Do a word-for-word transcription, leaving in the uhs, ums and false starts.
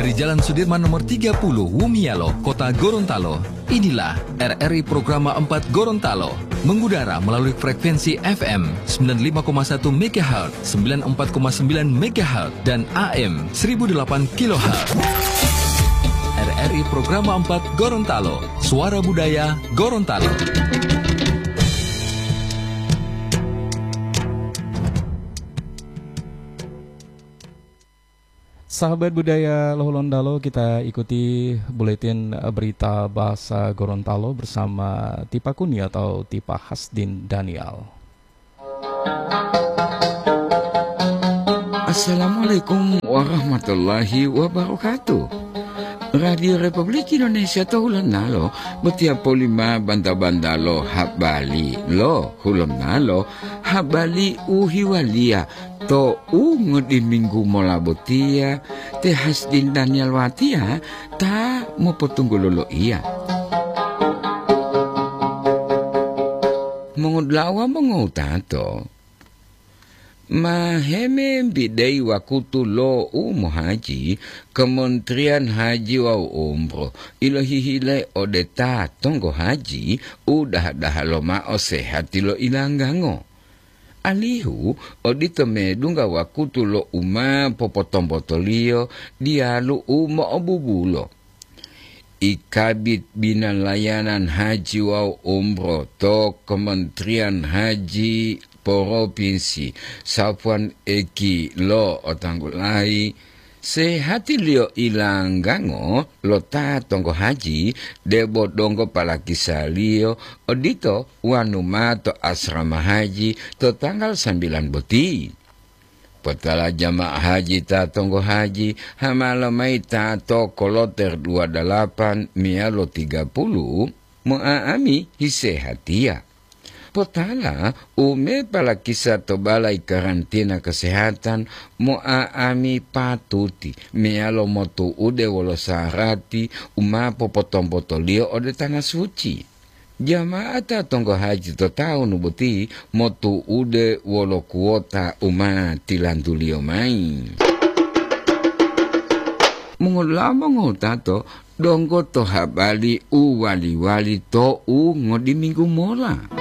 Dari Jalan Sudirman nomor tiga puluh, Wumialo, Kota Gorontalo. Inilah R R I Programa empat Gorontalo, mengudara melalui frekuensi F M sembilan lima koma satu megahertz, sembilan empat koma sembilan megahertz, dan A M seribu delapan kilohertz. R R I Programa empat Gorontalo, suara budaya Gorontalo. Sahabat budaya Lohulontalo, kita ikuti buletin berita bahasa Gorontalo bersama Tipa Kuni atau Tipa Hasdin Daniel. Assalamualaikum warahmatullahi wabarakatuh. Radio Republik Indonesia to Hulontalo botiya polima banta-banta lo habari lo Hulontalo, habari u hiwaliya to u ngodiminggu mola botiya, te Hasdin Daniel watiya ta mopotunggulo loiya. Mongodula'a wawu mongowutato, ma hemembideyi wakutu lo u mohaji, Kementerian Haji wawu Umroh ilohihile ode ta tonggo haji u daha-daha lomao sehati lo ilanggango. Alihu odito medungga wakutu lo u ma popotombotoliyo diyalu u mo'obubulo. I Kabid Bina Layanan Haji wawu Umroh to Kementerian Haji Propinsi, Safwan Eki lo'otanggulayi, sehatiliyo ilanggango lo ta tonggo haji debo donggo palakisaliyo odito wanu ma to asrama haji to tanggal sambilan boti. Potala jamaah haji ta tonggo haji, hamalo mayi ta to koloter dua dalapan meyalo tiga puluh, mo'a'ami hisehatiya. Potala u me palakisa to balai karantina kesehatan, mo'a'ami patuti meyalo motu'ude wolo sarati u ma popotombotoliyo ode Tanah Suci. Jama'ata tonggo haji to tawunu boti motu'ude wolo kuwota u ma tilantuliyo mayi. Mongolamo ngotato donggo to habari u wali-wali to u ngodiminggu mola.